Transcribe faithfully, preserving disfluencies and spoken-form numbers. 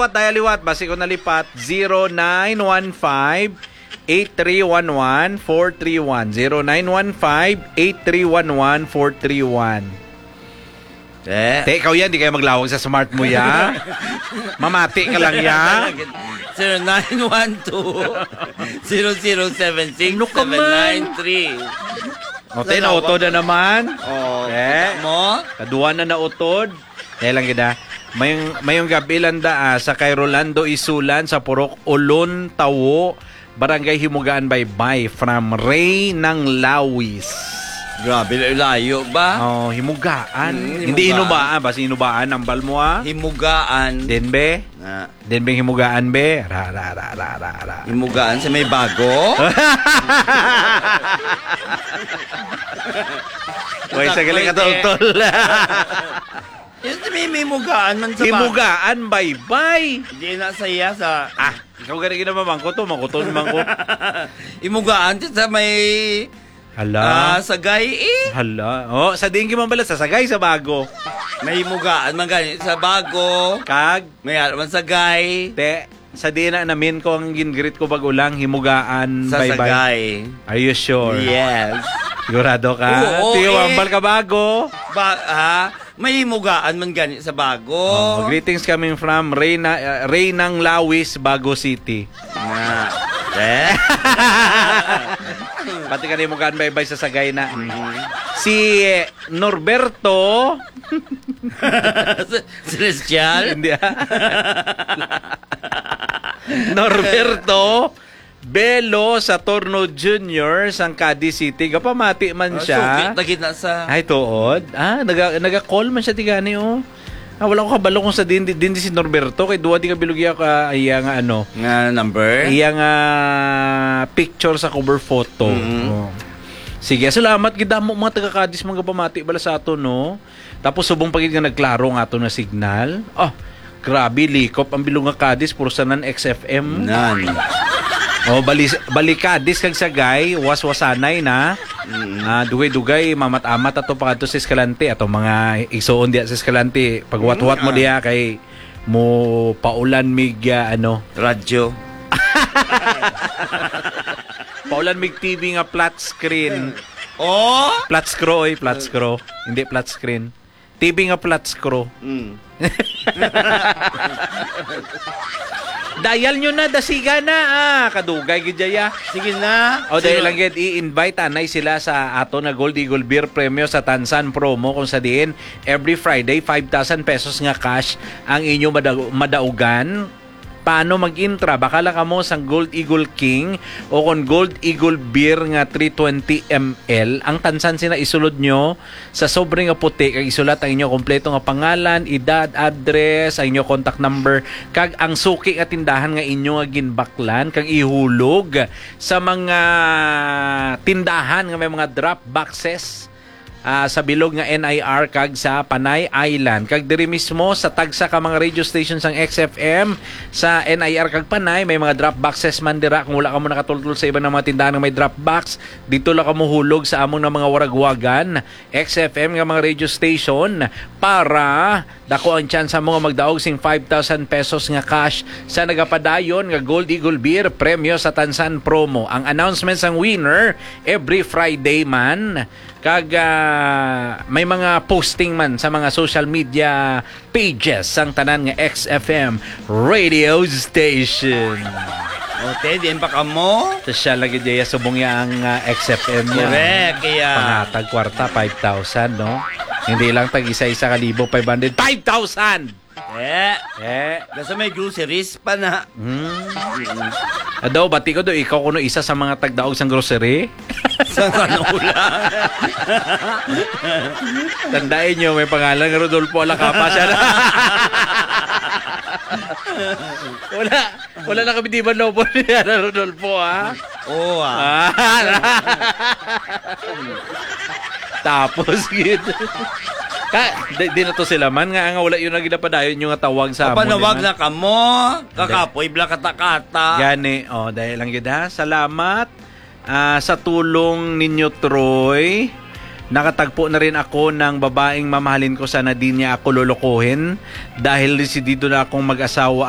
Liwat, daya liwat, basi ko nalipat, zero nine one five, eight three one one, four three one. Zero nine one five, eight three one one, four three one. Eh? Te, ikaw yan, di kayo maglawag sa smart mo, ya. Mamati ka lang, ya. Zero nine one two, zero zero seven six, Ano ka man? seven nine three. O, te, nautod na naman. Oh, Eh? kita mo? Kaduwa na nautod. Kaya lang gid, ah. Mayong, mayong gabi lang da, ah, sa kay Rolando Isulan sa Purok Ulon, Tawo, Barangay Himugaan, Baybay, from Ray ng Lawis. Grabe, layo ba? Oh, Himugaan. Mm, Hindi Himugaan. Hinubaan, basi Hinubaan, ambal mo, ah. Himugaan. Din, be? Na. Din, be, Himugaan, be? Ra, ra, ra, ra, ra, ra. Himugaan sa may bago? Way, sa galing Sakto, katultol. Yun si Mimi, himugaan man sa ba- Himugaan, baybay. Hindi na sa iya sa Ah, ikaw gani ginamamangkot to, mangkuton man ko. Himugaan sa may Hala. Ah, sa gay, eh. Hala. Oh, sa diin ki man bala sa Sagay sa Bago. May himugaan man gani sa Bago. Kag May ara man sa gay. Te, sa diin na namin ko ang gin-greet ko bag-o lang, himugaan, Sa baybay. Sagay. Are you sure? Yes. Sigurado ka? Oo, Tiyo, eh. Ambal ka Bago. Ba, ha? May himugaan man gani sa Bago. Oh, greetings coming from Reyna, uh, Reynang Lawis, Bago City. Nga. Eh? Pati ka himugaan, baybay sa Sagay na. Si Norberto. Celestial? Hindi, ah. Norberto Belo Saturno Junior sang Cadiz City. Gapamati man Ah, siya. Suki na gid na sa Ay, tuod. Ah, naga, naga-call man siya tigani, oh. Ah, wala ko kabalo kung sa din, din, din si Norberto. Kay duwa di ka bilog iya ka, iya nga ano. Nga number? Iya nga picture sa cover photo. Mm. Oh. Sige, salamat. Gidamo mga taga-Cadiz, mga gapamati bala sa ato, no? Tapos subong pa gid nga nagklaro nga ato na signal. Oh, grabe, likop ang bilog nga Cadiz, puro sa nan X F M. Nan. Oh, bali, bali Cadiz kag Sagay, waswasanay na. Mm. Ah, dugay-dugay, mamat-amat ato pa kadto sa Escalante. Ato mga igsuon diya sa Escalante, pagwat-wat mo Mm, ah. diya kay mo paulan mig, ah, ano. Radyo. Paulan mig T V nga flat screen. Oh? Flat screw, oy, flat screw. Hindi flat screen. T V nga flat screw. Mm. Dial nyo na, dasiga na, ah. Kadugay gid dya, ya. Sige na. O, dahil Sino? lang gid, i-invite anay sila sa ato na Gold Eagle Beer Premyo sa Tansan Promo, kung sa diin every Friday, five thousand pesos nga cash ang inyo mada-, madaugan. Paano mag-intra? Bakala kamo sang Gold Eagle King o kon Gold Eagle Beer nga three twenty M L. Ang tansan sina isulod nyo sa sobre nga puti kag isulat ang inyo kompleto nga pangalan, edad, address, ang inyo contact number, kag ang suki nga tindahan nga inyo nga ginbaklan kag ihulog sa mga tindahan nga may mga drop boxes, ah, sa bilog nga N I R kag sa Panay Island. Kag diri mismo sa tagsa ka mga radio station sang X F M sa N I R kag Panay, may mga drop boxes man dira. Kung wala ka mo nakatultol sa iban nga mga tindahan nga may drop box, dito lang ka mohulog sa among nga mga waragwagan, X F M nga mga radio station, para dako ang tsansa mo nga magdaog sing five thousand pesos nga cash sa nagapadayon nga Gold Eagle Beer Premyo sa Tansan Promo. Ang announcement sang winner every Friday man. Kag, ah, may mga posting man sa mga social media pages sang tanan nga X F M radio station. Okay, diin pa kamo? Sosyal lagi dya subong ya ang, ah, X F M niya. Correct, kaya Panghatag kwarta, five thousand, no? Hindi lang tag isa-isa ka libo, five hundred, five thousand! Eh, Eh. Nasa may groceries pa na. Hmm. Adaw, bati ko do, ikaw kuno isa sa mga tagdaog sang grocery. Sa kanula. Tandaan nyo, may pangalan nga Rodolfo Alacapa siya. Wala, wala na kami di ba nobo niya na Rodolfo, ha? Oo, ah. Ah. Tapos, gid. Ka, di, di na to sila man nga, nga wala yun na ginapadayon yung nga tawag sa amon, Panawag man. na kamo, kakapoy, bla kata-kata. Gani, oh, dahil lang gid, ha. Salamat, ah, sa tulong ninyo, Troy. Nakatagpo na rin ako ng babaeng mamahalin ko, sana di niya ako lolokohin dahil desidido na akong mag-asawa